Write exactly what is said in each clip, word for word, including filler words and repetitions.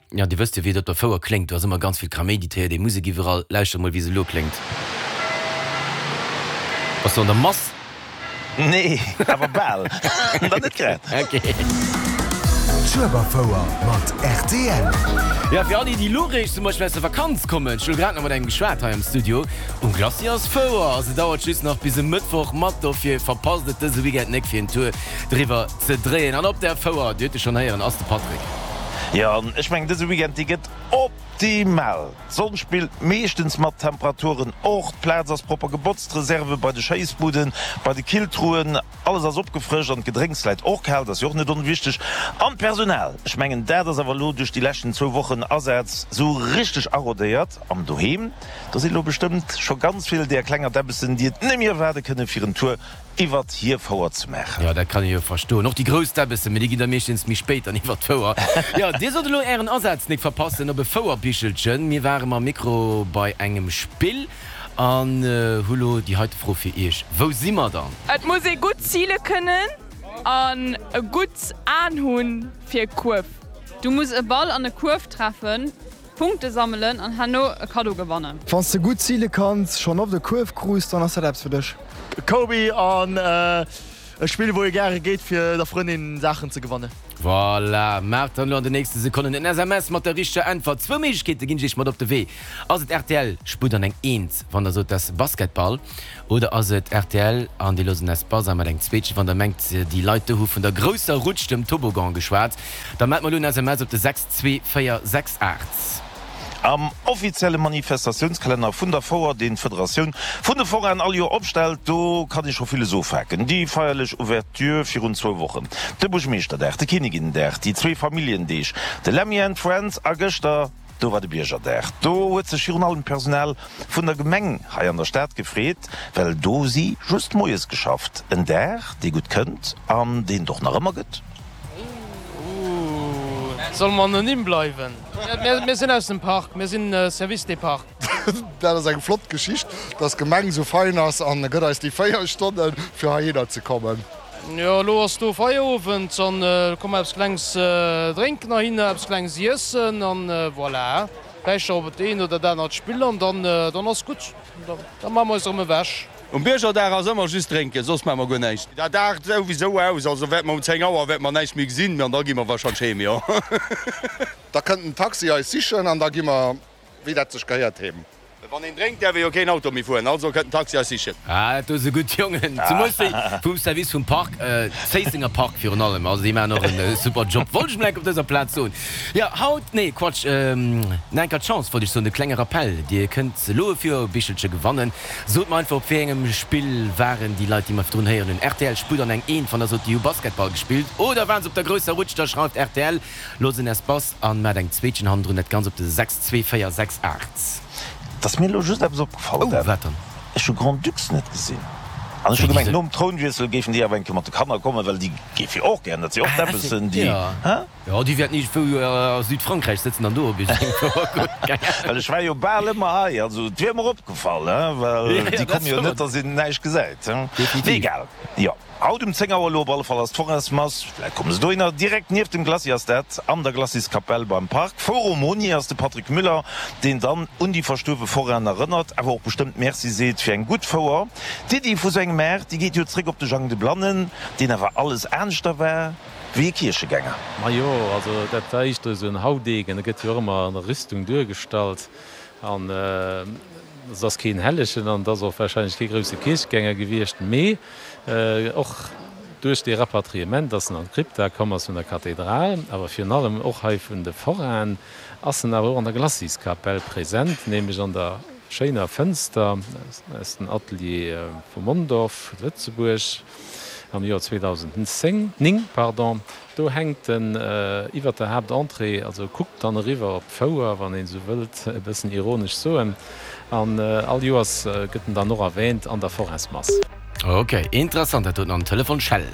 Ja, Dir wësst jo, wéi et op der Fouer kléngt. Do ass ëmmer ganz vill Kaméidi, d'héiert ee Musek iwwerall. Lauschtert mol, wéi se elo kléngt. Bass du an der Mass? Nee, awer bal. Dann net grad. Ok. D'Schueberfouer mat rtl. Ja, fir all déi, déi elo réischt zum Beispill aus der Vakanz kommen, ech hu elo grad nach mat engem geschwat hei am Studio, um Glacis ass Fouer. Also dauert just nach bis e Mëttwoch mat, dofir verpasst et dëse Weekend nek fir en Tour driwwer ze dréien. An op der Fouer, Dir hutt e schonn héieren, ass de Patrick. Jo, an ech mengen dëse Weekend, dee gëtt optimal. D'Sonn spillt meeschtens mat, d'Temperaturen och, d'Plaz ass propper gebotzt, d'Reserve bei de Schéissbuden, bei de Killtruen, alles ass opgefrëscht an d'Gedrénks läit och kal, dat ass jo och net onwichteg. An d'Personal, ech mengen dat ass awer elo duerch déi leschten zwou Wochen Asaz sou richteg arodéiert. An doheem, do sinn elo bestëmmt scho ganz vill där klenger Däbbessen, déi et net méi erwaarde kënne fir en Tour iwwert hir Fouer ze maachen. Jo, dat kann ee jo verstoen. Och déi grouss Däbbessen, mee déi ginn da meeschtens méi spéit dann iwwert d'Fouer. Jo, dir sollt elo ären Asaz nik verpassen op e Fouerbichelchen. Mir ware mam Mikro bei engem Spill an hu lo déi heite Fro fir iech, Wou si mer dann? Et muss ee gutt zile kënnen an e gutt An hunn fir e Kuerf. Du muss e Ball an e Kuerf treffen. Punkte sammelen an herno e Kaddo gewannen. Wann s de gutt zile kanns, schonn oft e Kuerf krus, dann ass dat eppes fir dech. Kobi an e Spill wou ee gäre geet fir der Frëndin Saachen ze gewannen. Voilà, maacht dann elo an de nächste Sekonnen en S M S mat der richteger Äntwert. Zwou Méiglechkeete ginn ech iech mat op de Wee. Ass et rtl, sputt an eng Eent, wann der sot, dat ass Basketball? Oder ass et rtl an dir loosst en Espace a mat engem Zweetchen, wann der mengt, déi Leit do hu vun der grousser Rutsch, dem Toboggan, geschwat? Da mellt mer elo en S M S op de sechs zwee véier sechs aacht. Am offizielle Manifestatiounskalenner vun der Fouer, deen d'Federatioun vun de Foraen all Joer opstellt, do kann ee scho villes ofhaken, déi feierlech Ouverture virun zwou Wochen, de Buergmeeschterdag, de Kinniginnedag, déi zwee Familljendeeg, de Lemmy and Friends a gëschter, do war de Biergerdag. Do huet sech virun allem d'Personal vun der Gemeng hei an der Stad gefreet, well do hu si just moies geschafft. En Dag, dee gutt kënnt an deen et och nach ëmmer gëtt. Solle mer anonym bleiwen? Mir sinn aus dem Parc, mir sinn Service des Parcs. Dat ass eng flott Geschicht, dass d'Gemeng esou fein ass an gëtt eis déi véier Stonne fir heihinner ze kommen. Jo, elo ass do Feierowend an komme mer eppes Klengs drénken heihinner, eppes Klengs iessen an voilà. Vläicht nach op et eent oder dat anert Spill an dann ass gutt. Da maache mer eis erëm ewech. Um Biergerdag ass ëmmer just drénken, soss maache mer guer näischt. Dat aart souwisou aus, also wäerte mer um zéng Auer wäerte mer näischt méi gesinn, an da gi mer wahrscheinlech heem, jo. Da kënnt den Taxi eis sichen an da gi mer, wéi dat sech gehéiert, heem. Wann een drénkt, däerf ee jo keen Auto méi fueren, also kënnt den Taxi eis sichen. Ah, dat do si gutt Jongen, zemools déi vum Service vum Park, Zéissenger Park virun allem, also déi maachen och en super Job, wollt ech mol enk op dëser Plaz soen. Jo, haut, nee, Quatsch, nach enker d'Chance, wollt ech soen, de klenge Rappell, Dir kënnt elo e Fouerbichelche gewannen. Sot mer einfach op wéi engem Spill waren déi Leit déi mer virdrun héieren hunn. Rtl sputt an eng Eent wann der sot déi hu Basketball gespillt oder waren se op der grousser Rutsch, da schreift rtl looss en Espace an maacht eng Zweetchen hannendrun, dat Ganzt op de sechs zwee véier sechs aacht. Et ass mir elo just eppes opgefall, Oh, Dan. wat dann? Ech hu Grand-Ducs net gesinn. An ech hu Wéi, déi gemengt, se. nom Trounwiessel géifen déi awer eng Kéier mat de Kanner kommen, well déi géife jo och gären, dat si och Ah, d'Däbbessen, déi, ja. hä? Jo, déi wäerten iergendwou a Südfrankräich sëtzen an do op iergendeng Fouer kucken, keng Ahnung. Well ech war jo bal ëmmer hei, also et wier mer opgefall, he, well Ja, déi ja, dat komme jo net, stëmmt. datt een näischt gesäit, he. Mee Definitiv. egal, jo. Haut um zéng Auer elo op alle Fall ass d'Foraismass, vläit komme se dohinner, direkt nieft dem Glacis ass dat, an der Glaciskapell beim Park. Foraumonier ass de Patrick Müller, deen dann un déi verstuerwe Forainen erënnert, awer och bestëmmt Merci seet fir eng gutt Fouer. D'Iddi vu sou engem Maart, déi geet jo zréck op de Jang de Blannen, deen awer alles aneschter war wéi e Kierchegänger. Majo, also dat war éischter esou en Haudegen, e gëtt jo och ëmmer an der Rüstung duergestallt an et ass keen Hellegen an et ass och wahrscheinlech kee grousse Kierchegänger gewiescht, mee och duerch dee Rapatriement, dass en an d'Krypta komm ass vun der Kathedral, awer virun allem och hei vun de Foraen, ass en awer och an der Glaciskapell present, nämlech an der schéiner Fënster aus dem Atelier vu Mondorf, Lëtzebuerg, am Joer zweedausendzéng, ning, pardon. Do hänkt en iwwert der Haaptentrée, also kuckt dann eriwwer op d'Fouer, wann een esou wëllt e bëssen ironesch soen. An all Joers gëtt en dann och erwähnt an der Foraismass. Ok, interessant dat doten an Telefon schellt.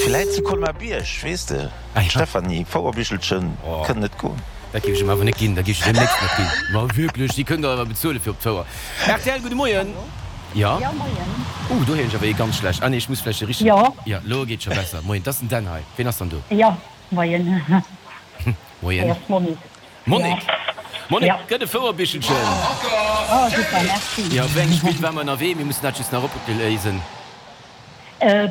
Villäit zu Colmar-Bierg, weess de, Ah ja. Stephanie, Fouerbichelchen kënnt net goen. Dat géif ech em awer net ginn, dat géif ech deemnächst net ginn. Ma wierklech, déi kënnt der awer bezuelen fir op d'Fouer. Rtl, gudde Moien. Hallo. Jo? Jo, moien. Uh, do héieren ech awer ee ganz schlecht. Ah nee, ech muss vläicht de richtegen. Jo. Jo, lo geet scho besser. Moien, 't ass den Dan hei. Ween ass dann do? Jo, moien. Moien. Hei ass d'Monique. Monique, Monique, gëtt e Fouerbichelchen. Oh super, merci. Jo, wéi engem Spill ware mer ënnerwee? Mir mussen dat just nach opléisen.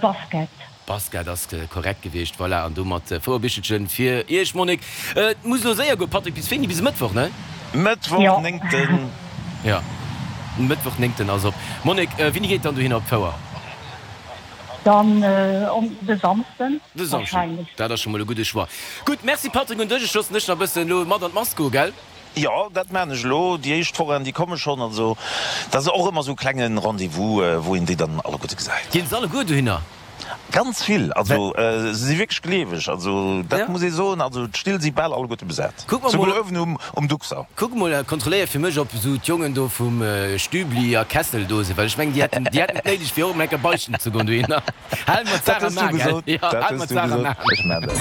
Basket. Basket ass korrekt gewiescht, voilà. An domat Fouerbichelchen fir iech, Monique. Et muss elo séier goen, Patrick, bis wéini? Bis e Mëttwoch, ne? Mëttwoch, néngten. Jo, Mëttwoch, néngten ass op. Monique, wéini geet dann dohinner op d'Fouer? Dann de Samsden De Samschden, wahrscheinlech. dat ass scho mol e gudde Choix. Gutt, merci Patrick un dech. Ech loossen dech nach e bëssen elo mat an d'Mass goen, gell? Jo, dat maan ech elo. Déi éischt Forainen, déi komme schonn. Also, dat ass och ëmmer esou e klenge Rendez-vous, wou een déi dann alleguerte gesäit. Ginn se alleguer dohinner? Ganz vill. Also, se si wierklech gleeweg. Also, dat muss ee soen. Also, d'Still si bal alleguerte besat. Kuck mer mol. Souguer uewen um, um Duxer. Kuck mol, kontrolléier fir mech, ob esou d'Jongen do vum Stübli a Kessel do sinn, well ech mengen, déi hätten, déi hätten et néideg, fir och emol eng Kéier beischten ze goen dohinner. Hal mer Dat d'Saach hues am du A, gell? gesot. Jo, Dat hal hues mer du d'Saach am gesot. A. Ech maan dat.